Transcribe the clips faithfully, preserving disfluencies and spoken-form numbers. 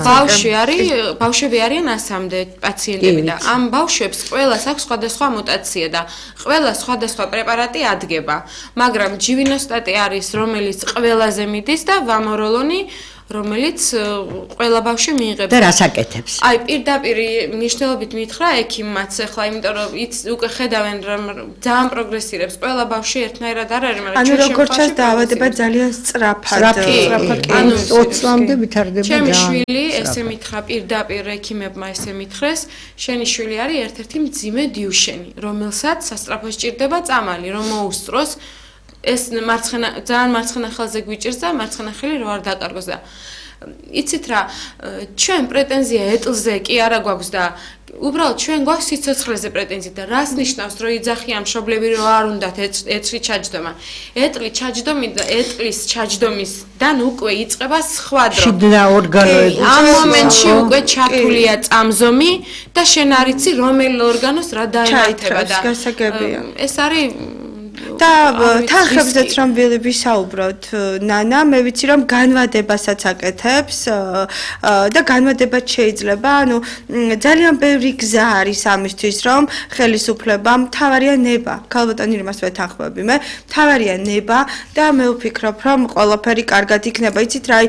ბავშვი არის, ბავშვები არიან ასამდე პაციენტები და ამ ბავშვებს ყველას აქვს სხვადასხვა მუტაცია და ყველა სხვადასხვა პრეპარატი ადგება. მაგრამ ჯივინოსტატი არის, რომელიც ყველაზე მიდის და ვამოროლონი რომელიც ყველა ბავშვი მიიღებს. და რას აკეთებს? აი, პირდაპირ მნიშვნელობით მითხრა ექიმმაც ახლა, იმიტომ რომ იც უკვე ხედავენ რომ ძალიან პროგრესირებს. ყველა ბავშვი ერთნაირად არ არის, მაგრამ ანუ როგორც ჩანს დაავადება ძალიან სწრაფად. ანუ ოცი წლამდე ვითარდება. ჩემი შვილი ესე მითხრა პირდაპირ ექიმებმა ესე მითხრეს, შენი შვილი არის ერთ-ერთი მძიმე დიუშენი, რომელსაც სასწრაფო სჭირდება წამალი, რომ მოუსწროს ეს მარცხენა ძალიან მარცხენა ხელზე გვიჭირს და მარცხენა ხელი რო არ დაკარგოს და იცით რა ჩვენ პრეტენზია ეტლზე კი არა გვაქვს და უბრალოდ ჩვენ გვაქვს სიცოცხლეზე პრეტენზია და რას ნიშნავს რომ იძახიან მშობლები რომ არ უნდათ ეტლი ჩაჯდომა ეტლი ჩაჯდომი და ეტლის ჩაჯდომისდან უკვე იწყება სხვა დრო შიგნა ორგანოები ამ მომენტში უკვე ჩართულია წამზომი და შენ არ იცი რომელ ორგანოს რა დაემართება და ეს არის და თანხებზეც რომ ვისაუბროთ ნანა მე ვიცი რომ განვადებასაც აკეთებს და განვადებაც შეიძლება ანუ ძალიან ბევრი გზა არის ამისთვის რომ ხელისუფლება მთავარია ნება ქალბატონი იმას ვეთანხმები მე მთავარია ნება და მე ვფიქრობ რომ ყველაფერი კარგად იქნება იცით რა აი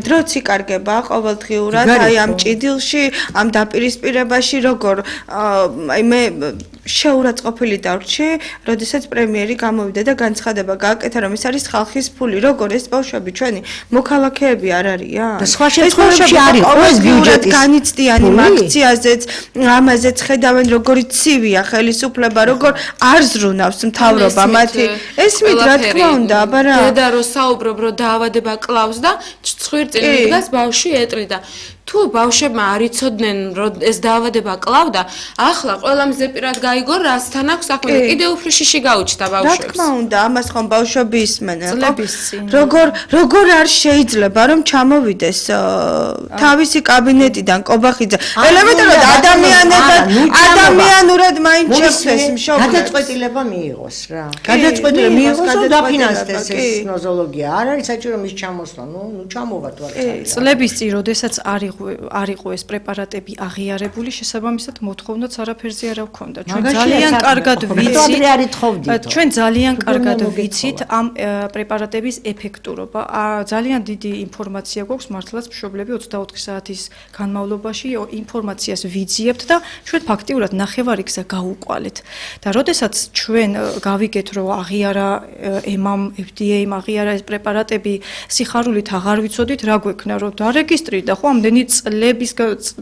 დროც იკარგება ყოველდღიურად აი ამ ჭიდილში ამ დაპირისპირებაში როგორ აი მე შეურაცხყოფილი დავრჩი როდესაც პრემიერი გამოვიდა და განცხადება გააკეთა რომ ეს არის ხალხის ფული როგორ ეს ბავშვები ჩვენი მოქალაქეები არ არიან და სხვა შემთხვევებში არის ყოველ ბიუჯეტის განიცდიანი აქციაზეც ამაზეც ხედავენ როგორი ცივია ხელისუფლება როგორ არ ზრუნავს მთავრობა მათი ესმით რა თქმა უნდა აბა რა დედა რო საუბრობ რომ დაავადება კლავს და ცხვირწინ მიდგას ბავშვი ეტლი და თუ ბავშვებმა არ იცოდნენ რომ ეს დაავადება კლავდა ახლა ყველა მზეპირად გაიგო რასთან აქვს საქმე და კიდევ უფრო შიში გაუჩნდა ბავშვებს რა თქმა უნდა ამას ხომ ბავშვები ისმენენ როგორ როგორ არ შეიძლება რომ ჩამოვიდეს თავისი კაბინეტიდან კობახიძე ელემენტარულად ადამიანებად ადამიანურად მაინც შეხვდეს მშობლებს გადაწყვეტილება მიიღოს რა გადაწყვეტილება მიიღოს და დაფინანსდეს ეს ნოზოლოგია არ არის საჭირო მის ჩამოსვლა ნუ ნუ ჩამოვა თუ არ წლების წინ როდესაც არის არ იყო ეს პრეპარატები აღიარებული შესაბამისად მოთხოვნაც არაფერზე არ აქვს ჩვენ ძალიან კარგად ვიცით ჩვენ ძალიან კარგად ვიცით ამ პრეპარატების ეფექტურობა ძალიან დიდი ინფორმაცია გვაქვს მართლაც მშობლები ოცდაოთხი საათის განმავლობაში ინფორმაციას ვიძიებთ და ჩვენ ფაქტიურად ნახევარი გზა გავუყვალეთ და როდესაც ჩვენ გავიგეთ რომ აღიარა ემამ ეფ დი ეიმ აღიარა ეს პრეპარატები სიხარულით აღარ ვიცოდით რა გვექნა რომ დარეგისტრირდა ხო ამდენი წლების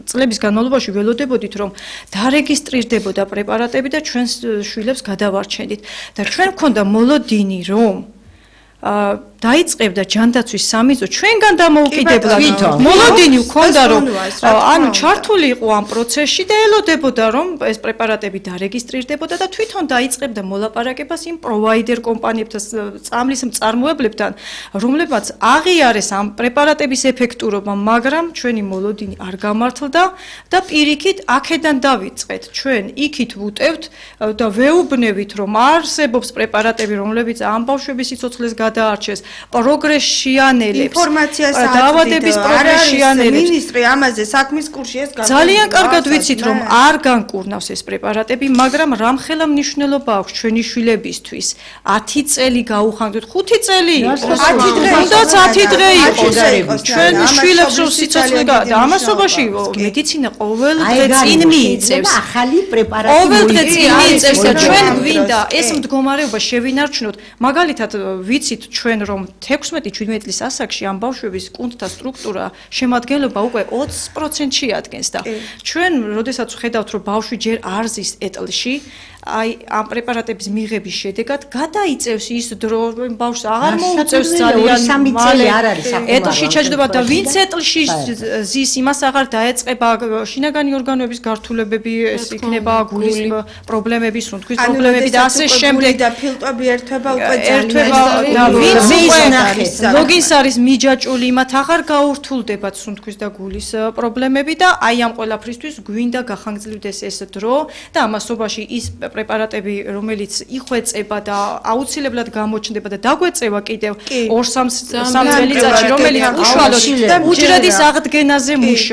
წლების განმავლობაში ველოდებოდით რომ დარეგისტრირდებოდა პრეპარატები და ჩვენს შვილებს გადავარჩენდით და ჩვენ გქონდა მოლოდინი რომ დაიწყებდა ჯანდაცვის სამიზო ჩვენგან დამოუკიდებლად მოლოდინი გქონდა რომ ანუ ჩართული იყო ამ პროცესში და ელოდებოდა რომ ეს პრეპარატები დარეგისტრირდებოდა და თვითონ დაიწყებდა მოლაპარაკებას იმ პროვაიდერ კომპანიებთან წამლის მწარმოებლებთან რომლებმაც აღიარეს ამ პრეპარატების ეფექტურობა მაგრამ ჩვენი მოლოდინი არ გამართლდა და პირიქით აქედან დავიწყეთ ჩვენ იქით ვუტევთ და ვეუბნებით რომ არსებობს პრეპარატები რომლებიც ამ ბავშვების სიცოცხლეს გადაარჩეს პროგრესიანელებს ინფორმაციას დაავადების პროგრესიანელებს მინისტრი ამაზე საქმის კურსში ეს ძალიან კარგად ვიცით რომ არ განკურნავს ეს პრეპარატები მაგრამ რამხელა მნიშვნელობა აქვს ჩვენი შვილებისთვის ათი წელი გაუხანგდეთ ხუთი წელი ათი დღე თუნდაც ათი დღე იყოს ჩვენ შვილებს რომ სიცოცხლე და ამასობაში მედიცინა ყოველ დღე წინ მიიწევს ახალი პრეპარატი ყოველ დღე წინ მიიწევს და ჩვენ გვინდა ეს მდგომარეობა შევინარჩუნოთ მაგალითად ვიცით ჩვენ რომ თექვსმეტი შვიდმეტი წლის ასაკში ამ ბავშვების კუნთთა სტრუქტურა შემადგენლობა უკვე ოცი პროცენტში ადგენს და ჩვენ როდესაც ვხედავთ რომ ბავშვი ჯერ არ ზის ეტლში აი ამ პრეპარატების მიღების შედეგად გადაიწევს ის დრო ბავშვს აღარ მოუწევს ძალიან მალე ეტლში ჩაჯდომა და ვინც ეტლში ზის იმას აღარ დაეწყება შინაგანი ორგანოების გართულებები ეს იქნება გულის პრობლემები სუნთქვის პრობლემები და ასე შემდეგ და ფილტვები ერთვება უკვე ერთვება და ვინც უკვე ლოგინს არის მიჯაჭული მათ აღარ გაურთულდებათ სუნთქვის და გულის პრობლემები და აი ამ ყველაფრისთვის გვინდა გახანგრძლივდეს ეს დრო და ამასობაში ის პრეპარატები რომელიც იხვეწება და აუცილებლად გამოჩნდება და დაგვეწევა კიდევ ორ სამ წელიწადში რომელიც უშუალოდ უჯრედის აღდგენაზე მუშაობს